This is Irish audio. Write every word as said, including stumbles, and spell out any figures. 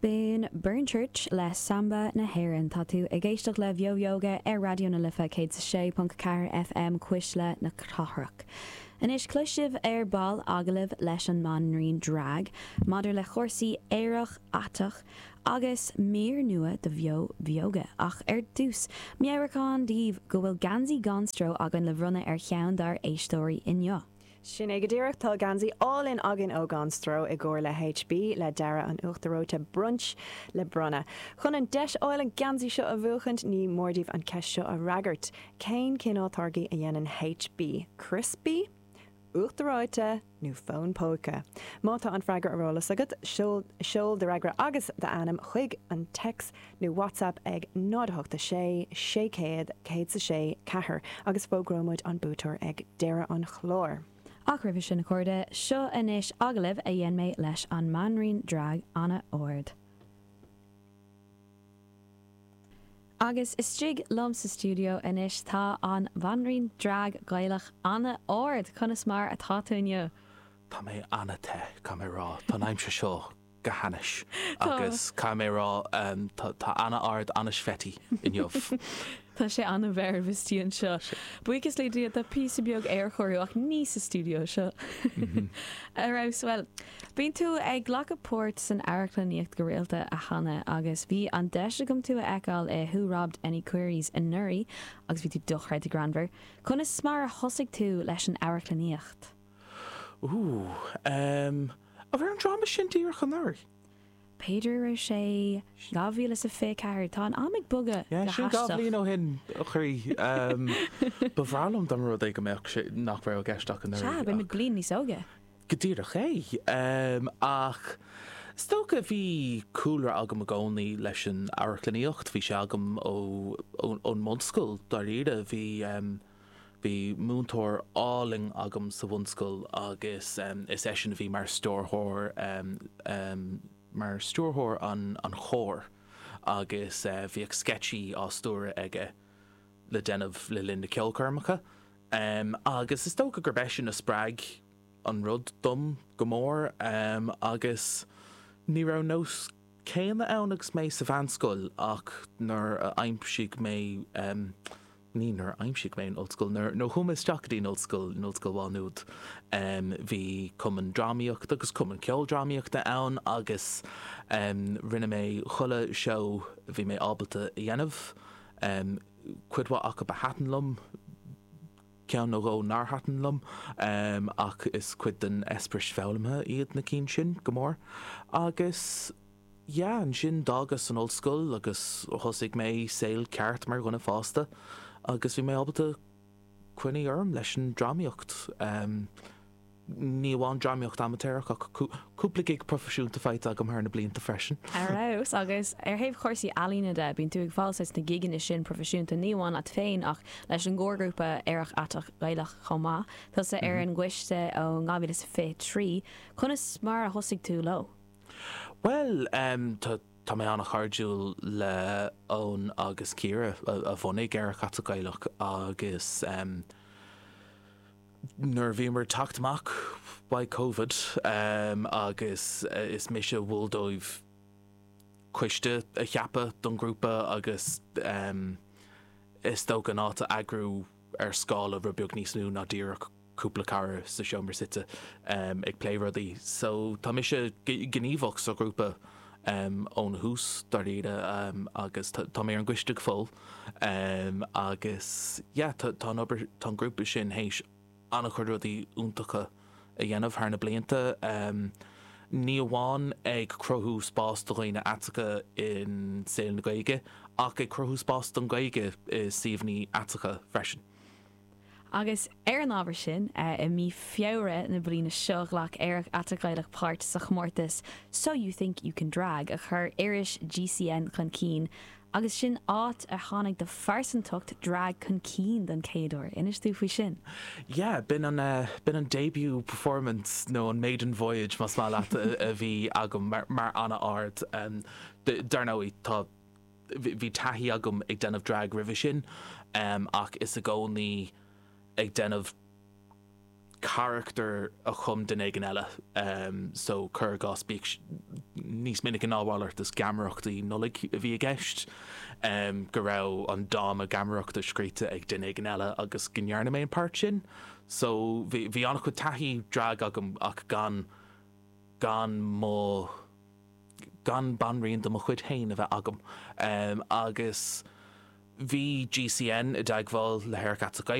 B'in Burnchurch le Samba na hÉireann. Tá tú ag éisteacht le Beo Bheoga ar Raidió na Life céad sé ponc ceathair F M, Cuisle na Cathrach. Anois cloisfidh sibh ar ball agallamh leis an mbanríon drag maidir le cúrsaí aerach aiteach agus mír nua de Bheo Bheoga, ach ar dtús, meabhrúchán daoibh go bhfuil geansaí Gan Stró againn le bronnadh ar cheann dár éisteoirí inniu. Sin é go díreach. Tá geansaí álainn againn ó Gan Stró i gcomhar le H B le dearadh an Uachtar Reoite Brunch le bronnadh. Chun an deis a fháil an geansaí seo a bhuachaint, ní mór daoibh an cheist seo a fhreagairt. Cén cineál táirgí a dhéanann H B? Crispy? Uachtar reoite nó fón póca? Má tá an freagra ar eolas agat, seol do fhreagra agus d'ainm chuig an text nó WhatsApp ag náid a hocht sé sé céad céad sé ceathair agus fógróimid an buaiteoir ag deireadh an chláir. Ach roimhe sin, a chairde, seo anois agallamh a dhein mé leis an mbanríon drag Anna Ard. Agus istigh liom sa stiúideo anois tá an bhanríon drag Gaelach Anna Ard. Conas mar atá tú inniu? Tá mé an-te, caithfidh mé rá. Tá an aimsir seo go hainnis agus caithfidh mé rá, tá Anna Ard an-sweaty inniu. Tá sé an-mheirbh istigh anseo. Buíochas le Dia tá píosa beag aerchóiriú, ach ní sa stiúideo seo. Ar fheabhas. Well, bíonn tú ag glacadh páirt san amharclannaíocht go rialta, a Anna, agus bhí an deis agam tú a fheiceáil i Who Robbed Any Queries anuraidh agus bhí tú dochreidte greannmhar. Conas mar a thosaigh tú leis an amharclannaíocht? Ú, um, a bhí an dráma sin díreach anuraidh? B'fhéidir raibh sé dhá mhíle is a fiche ceathair. Tá an am ag bogadh Yeah, sin dhá bhliain ó shin, a chroí. Ba bhreá liom dá mba rud é go mbeadh sé nach raibh i gceist ach an Sea, beidh bliain níos óige. Go díreach é, ach is dócha bhí cúlra agam i gcónaí leis an amharclannaíocht. Bhí sé agam ó ón mbunscoil dáiríre. Bhí bhí múinteoir álainn agam sa bhunscoil agus is eisean a bhí mar stiúrthóir mar stiúrthóir an an chóir agus uh, bhíodh sceitsí á stiúradh aige le déanamh le linn na ceolchoirmeacha. Um, agus is dócha gur b'shin a spreag an rud dom go mór, um, agus ní raibh nós céanna ann agus mé sa mheánscoil, ach nuair a aimsigh mé, um, ní nuair aimsigh mé an ollscoil, nuair nó chuaigh mé isteach go dtí an ollscoil, in Ollscoil Mhá Nuad, um, bhí cumann drámaíochta agus cumann ceoldrámaíochta ann agus um, rinne mé chuile seó bhí mé ábalta a dhéanamh, um, cuid mhaith acu a thaitin liom, ceann nó dhó nár thaitin liom, um, ach is cuid den eispéireas foghlamtha iad na cinn sin go mór. Agus yeah, ansin d'fhágas an ollscoil agus thosaigh mé saol ceart mar dhuine fásta agus bhí mé ábalta coinneáil orm leis an drámaíocht. Um, ní amháin drámaíocht amaitéarach ach cúpla gig proifisiúnta faighte agam thar na blianta freisin. Ar fheabhas. Agus ar thaobh chúrsaí ealaíne de, bíonn tú ag fáil na gigeanna sin proifisiúnta, ní amháin leat féin ach leis an gcórgrúpa Aerach Aiteach Gaelach chomh maith. Tusa ar an gcoiste ó dhá mhíle is fiche trí. Conas mar a thosaigh tú leo? Well, um, tá tá mé an-chairdiúil le Eoin agus Ciara a, a bhunaigh Aerach Aiteach Gaelach agus um, nuair bhíomar teacht amach by COVID um, agus uh, is mise a mhol dóibh coiste a cheapadh don grúpa agus um, is dócha an áit a eagrú ar scála rud beag níos lú ná díreach cúpla cara sa seomra suite um, ag plé rudaí. So tá mise gníomhach sa grúpa um, ón thús dáiríre, um, agus tá mé ar an gcoiste go fóill, um, agus yeah, tá obair tá an grúpa sin théis an-chuid rudaí iontacha a dhéanamh thar na blianta. Um, ní amháin ag cruthú spás do dhaoine aiteacha in saol na Gaeilge, ach ag cruthú spás don Ghaeilge i suíomhanna aiteacha freisin. Agus ar an ábhar sin, i mí Feabhra na bliana seo, ghlac Aerach Aiteach Gaelach páirt sa chomórtas So You Think You Can Drag a chur iris G C N chun cinn, agus sin áit a tháinig do phearsantacht drag chun cinn don chéad uair. Inis dúinn faoi sin. Yeah, b'in an uh, b'in an debut performance nó an maiden voyage, más maith leat, a, a bhí agam mar, mar Anna Ard. um, Dar ndóigh, tá bhí taithí agam ag déanamh drag roimhe sin, um, ach is i gcónaí ag déanamh charachtar a chum duine éigin eile, um, so cuir i gcás, bíodh níos minice ná a mhalairt is geamaireachtaí Nollag a bhí i gceist um, go raibh an dráma geamaireachta scríte ag duine éigin eile agus go ndearna mé an páirt sin. So bhí bhí an-chuid taithí drag agam ach gan gan mo gan banríon de mo chuid féin a bheith agam um, agus bhí GCN i dteagmháil le hAerach Aiteach